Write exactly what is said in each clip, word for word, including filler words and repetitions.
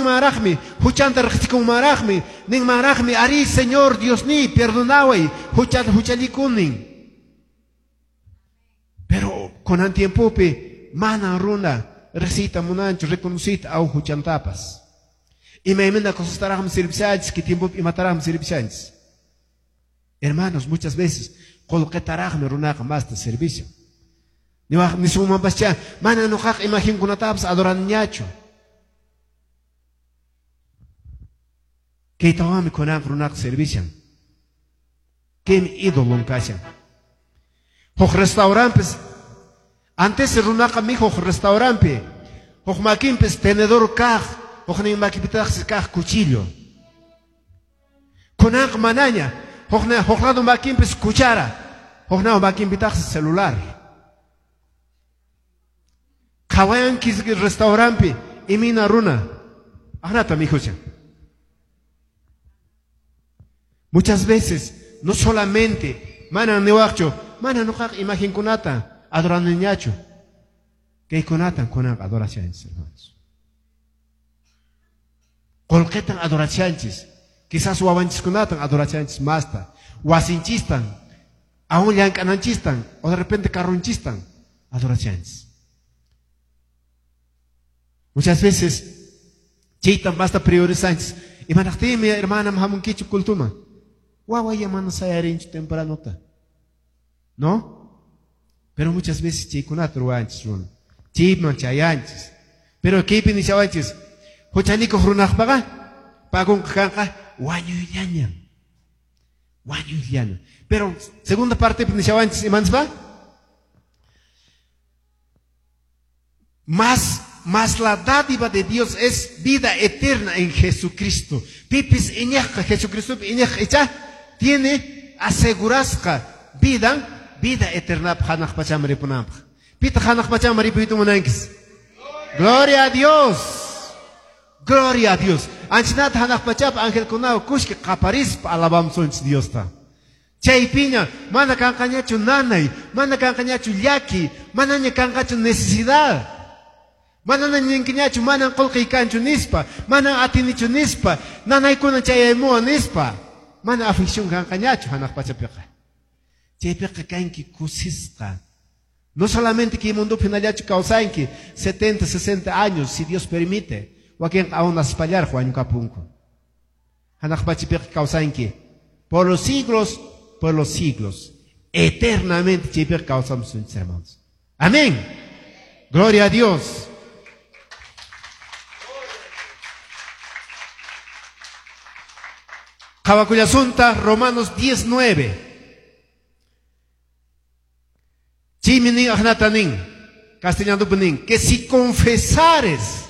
Hamunmanraqmi, huchanta riqsikunmanraqmi, ninmanraqmi, ari Señor Diosniy, perdonaway, huchata huchallikunin. Pero kunan tiempopi mana runa riqsiyta munanchu, reconociyta aw huchantapas. Imaymana cosastaraqmi servishanchis, kay tiempopi imataraqmi servishanchis. Hermanos, muchas veces qullqitaraqmi runaqa masta servishan. Niwaq nisunmanpascha, mana nuqaqa imagenkunatapas adoraniñachu. Kaytawanmi kunanqa runaqa servishan. Kaymi ídolon kashan. Huk restauranpis, antes runaqa mihuq restauranpi, huk makinpis tenedor kaq, huknin makipitaqsi kaq cuchillo. Kunanqa manaña, huk lado makinpis cuchara, huk makinpitaqsi celular. Qhawayanki restauranpi imina runa, aqnata mikhushan. Muchas veces, no solamente, mana niwaqchu, mana nuqaqa imagenkunata adoraniñachu. Kaykunatan kunanqa adorashanchis, hermanos. Qullqitan adorashanchis. Quizás wawanchiskunatan adorashanchis masta. Wasinchistan, aún llank'ananchistan, o de repente carronchistan adorashanchis. Muchas veces, chaytan basta priorizanchis. Imanaqtinmi, hermana, hamunkichu cultuma. Wawaya mana sayarinchu tempranota. ¿No? Pero muchas veces chaykunata ruwanchis runa. Chayman chayanchis. Pero kaypi nishawanchis, huchalikuq runaqpaqa pagunqa kanqa wañuyllañam. Wañuyllañam. Pero segunda parte nishawanchis imanispa? Más Mas la dádiva de Dios es vida eterna en Jesucristo. Pipis iñaqqa, Jesucristo iñaqqa icha tiene asegurasqa vida, vida eterna hanaq pachaman ripunanpaq. Pita hanaq pachaman ripuyta munankis? Gloria a Dios. Gloria a Dios. Anchinata hanaq pachapa angelkunawan kushka qaparispa alabamusunchis Diosta. Chaypiña mana kanqañachu nanay, mana kanqañachu llaki, manaña kanqachu necesidad. Mana ninkiñachu, mana qullqiy kanchu nispa, mana atinichu nispa, nanaykuna chayaymuwan nispa, mana aflicción kanqañachu hanaq pachapiqa. Chaypiqa kanki kusisqa. No solamente kay mundopi hinallachu kawsanki setenta, sesenta años, si Dios permite, wakinqa aún naspallaraq wañukapunku. Hanaq pachapiqa kawsanki por los siglos, por los siglos, eternamente chaypiqa kawsamusunchis, hermanos. Amén. Gloria a Dios. Qhawakullasunta Romanos diez nueve. Chaymi nin aqnata nin, castellanopi nin, que si confesares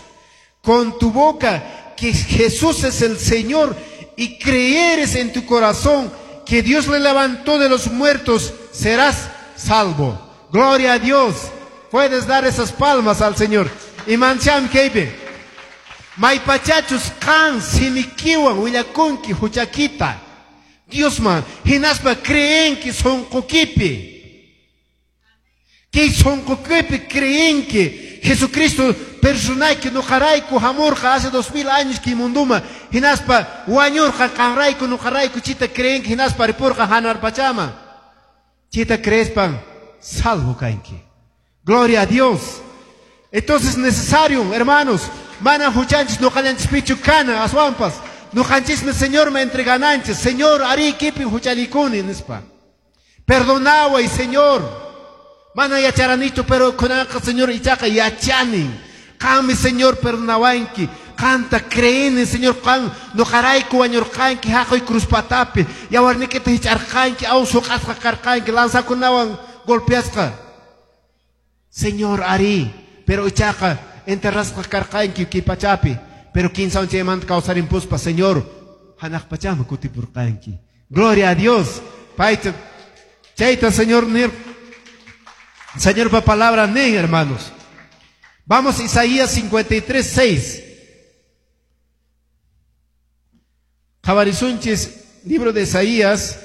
con tu boca que Jesús es el Señor y creyeres en tu corazón que Dios le levantó de los muertos, serás salvo. Gloria a Dios. Puedes dar esas palmas al Señor. Y mancham kaypi. Maypachachus qan simikiwan willakunki huchakita. Diosman hinaspa creenki sunqukipi. Kay sunqukipi creenki Jesucristo personayki nuqarayku hamurqa hace dos mil años kay munduma hinaspa wañurqa qanrayku nuqarayku chita creenki hinaspa ripurqa hanarpachama. Chita creespan salvo kanki. Gloria a Dios. Entonces es necesario, hermanos, mana huchanchis nuqallanchispichu kana aswanpas nuqanchismi Señor me entregananchis. Señor, ari kipin huchalikuni nispa. Perdonaway, Señor. Mana yacharanichu, pero kunanqa Señor ichaqa yachanin. Qanmi Señor perdonawanki. Qanta creeni, Señor, qan nuqarayku wañurqanki haqay cruzpatapi. Yawarnikita hich'arqanki, aw suq'asqa karqanki, lanzakunawan golpeasqa. Señor, ari, pero ichaqa enterrasqa karqanki kay pachapi, pero kinsa chaymanta kawsarimpuspa, Señor, hanaq pachaman kutipurqanki. Gloria a Dios. Payta chayta Señor nir, Señorpa palabra nin, hermanos. Vamos a Isaías cincuenta y tres, seis. Qhawarisunchis, libro de Isaías